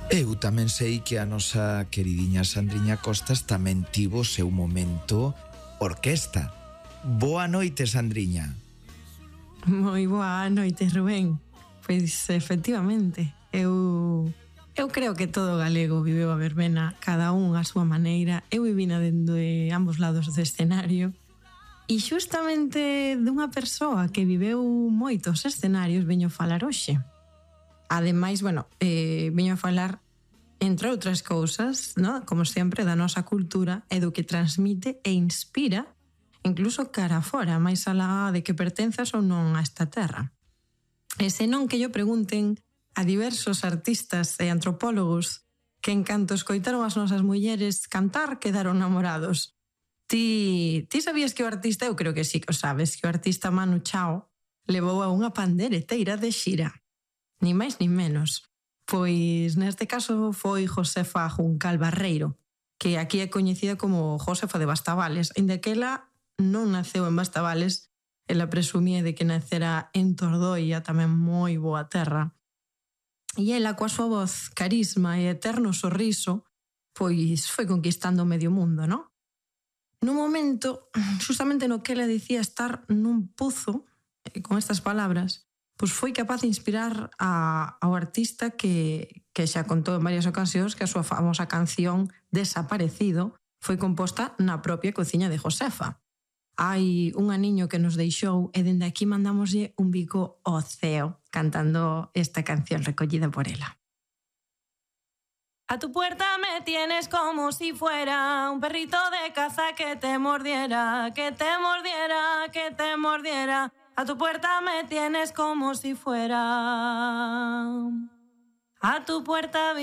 Eu tamén sei que a nosa queridinha Sandriña Costas tamén tivo o seu momento orquesta. Boa noite, Sandriña. Moi boa noite, Rubén. Pois, efectivamente, eu creo que todo galego viveu a verbena, cada un a súa maneira. Eu vivina dende ambos lados do escenario. E xustamente dunha persoa que viveu moitos escenarios veño falar hoxe. Ademais, veño a falar, entre outras cousas, ¿no? Como sempre, da nosa cultura e do que transmite e inspira, incluso cara fora, máis alá de que pertenzas ou non a esta terra. E senón que yo pregunten a diversos artistas e antropólogos que en canto escoitaron as nosas mulleres cantar quedaron namorados. Ti sabías que o artista, eu creo que sí que o sabes, que o artista Manu Chao levou a unha pandereteira de xira. Ni máis ni menos. Pois neste caso foi Josefa Juncal Barreiro, que aquí é coñecida como Josefa de Bastavales, inda que ela non naceu en Bastavales, ela presumía de que nacera en Tordoia, tamén moi boa terra. E ela, coa súa voz, carisma e eterno sorriso, pois foi conquistando medio mundo, non? Nun momento, justamente no que ela dicía estar nun pozo, con estas palabras, pois foi capaz de inspirar ao artista que xa contou en varias ocasións que a súa famosa canción Desaparecido foi composta na propia cociña de Josefa. Hai un aniño que nos deixou e dende aquí mandámoslle un bico ao ceo cantando esta canción recollida por ela. A tu puerta me tienes como si fuera un perrito de caza que te mordiera, que te mordiera, que te mordiera. A tu puerta me tienes como si fuera. A tu puerta